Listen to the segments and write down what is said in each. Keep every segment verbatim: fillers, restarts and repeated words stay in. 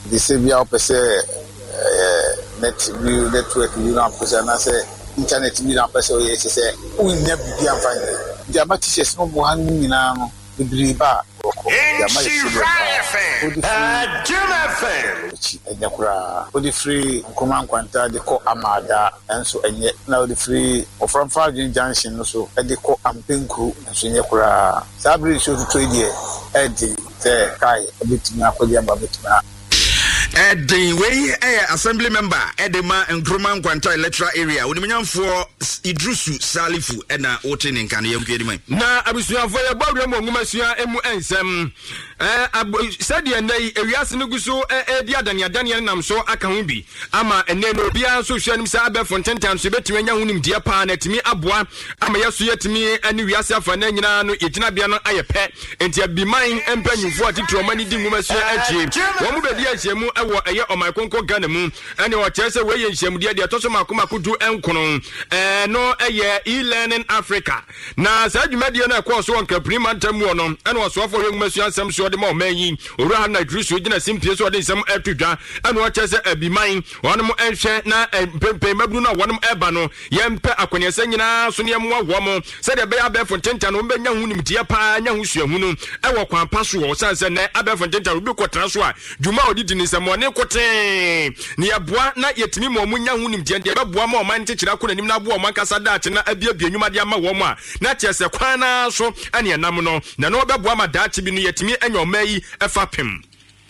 Nti sɛ bia wopɛ sɛ ɛɛ net bi, network bi na wopɛ sɛ, anaasɛ internet bi na wopɛ sɛ ɔyɛ, kyɛ sɛ wonnya biribi amfa nyɛ. Nti ama teachers no wɔ ha no nyinaa no bebree ba a wɔkɔ. Nti ama yɛ problem paa. Wode firi akyi ɛnyɛ koraa, wode firi Nkrumah Nkwanta de kɔ Amaada nso ɛnyɛ, na wode firi Ɔframfa Adwene Junction no so de kɔ Ampenkuru nso nyɛ koraa. Saa bere nsuo tutɔ yi deɛ, ɛden sɛ kae ɛbɛtumi akɔgye aba bɛtumi. Ɛden wei ɛyɛ assembly member ɛde ma Nkrumah Nkwanta electoral area, Onimnyamfoɔ Idrusu Salifu, ɛna wote ne nka no. Yɛnkɔ anim. Na abusuafoɔ, yɛbɔ awura mu nwomasua mu nsɛm. Sɛdeɛ nnɛ yi ewiase no gu so ɛredi adaneadaneɛ no nam so aka ho bi ama ɛnnɛ no obiara nso hwɛ anim sɛ abɛɛfo ntentan so yɛbɛtumi anya ho nimdeɛ paa na atumi aboa ama yɛso yɛtumi ne wiase afa no nyinaa no yɛgyinabea no ayɛ pɛ. Nti abiman mpanyimfoɔ a titiri ɔma ne di nwomasua akyie, wɔn mu bɛdi ahyiamu ɛwɔ ɛyɛ ɔman konko Ghana mu, ɛne ɔkyerɛ sɛ wɔyɛ nhyiamudeɛ deɛ ɛtɔ so mako mako du nkono. Ɛno ɛyɛ E-Learning Africa, na saa dwumadie no ɛkɔɔ so wɔ Nkampuni mantam mu no, ɛna ɔsoafoɔ hwɛ nwomasua nsɛm so ɔde ma ɔman yi, Owura Haruna Idrisu, gyina simpie so ɔde nsɛm ɛto dwa, ɛna ɔkyerɛ sɛ abiman wɔnom ɛhwɛ na mpempem mabunu no a wɔnom ɛba no, yɛmpɛ akɔneɛsɛ nyinaa so ne yɛmmoa wɔ mo sɛdeɛ ɛbɛyɛ abɛɛfo ntentan no wɔbɛnya ho nimdeɛ paa, nya ho suahunu ɛwɔ kwan pa so wɔ ɔsan sɛ nnɛ abɛɛfo ntentan obi kɔtena so a, dwuma a ɔde di ne nsɛmmɔne kotee ne yɛboa na yɛtumi ma ɔmo nya ho nimdeɛ deɛ ɛbɛboa ma ɔman nkyekyere akɔ n'anim na aboa ɔmo ankasa daakye na abiabie nnwuma de ama wɔn a, na kyerɛ sɛ kwan naa so ɛne ɛnam no na ɛno ɔbɛboa ma daakye bi no yɛtumi anya ɔman yi ɛfa pem.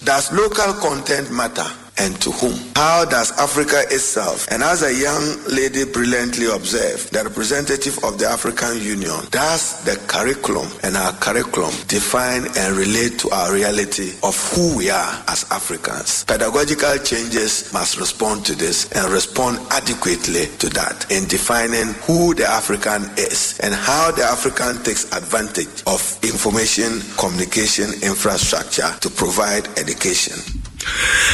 Does local content matter, and to whom? How does Africa itself, and as a young lady brilliantly observed, the representative of the African Union, does the curriculum and our curriculum define and relate to our reality of who we are as Africans? Pedagogical changes must respond to this and respond adequately to that in defining who the African is and how the African takes advantage of information communication infrastructure to provide education.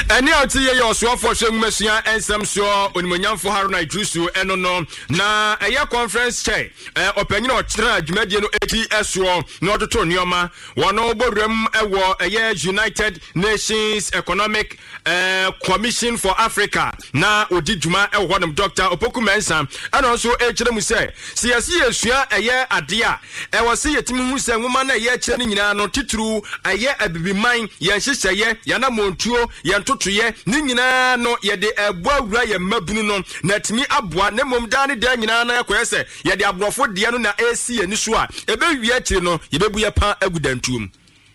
Ɛne a ɔte yɛ yɛ ɔsoafoɔ hwɛ nwomasua nsɛm soɔ, Onimonyamfo Haruna Idrisu, ɛno no. Na ɛyɛ conference chair, ɔpanyin a ɔkyerɛ dwumadie no eti ɛsoɔ na ɔtoto nneɛma wɔn bɔwuram ɛwɔ ɛyɛ United Nations Economic uh, Commission for Africa na odi dwuma ɛwɔ hɔnom, Doctor Opoku Mensah, ɛna nso ɛkyerɛ mu sɛ sɛ yɛsi yɛsua ɛyɛ adeɛ a ɛwɔ sɛ yɛtumi hu sɛ nwoma no ɛyɛ kyerɛ no nyinaa no, titiriw ɛyɛ abibiman yɛn nhyehyɛeɛ, yɛn anamontuo, yɛn ntotoyɛ ne nyinaa no, yɛde ɛboa awura yɛn mmabunu no na atumi aboa. Na mmom daa ne daa nyinaa no ɛkɔyɛ sɛ yɛde aborɔfo deɛ no na ɛresi yɛn ani so a, ɛbɛwie akyire no yɛbɛbu yɛ pa agu dantuom.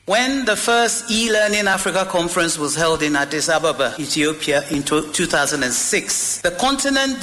When the first E-Learning Africa conference was held in Addis Ababa, Ethiopia in two thousand six, the continent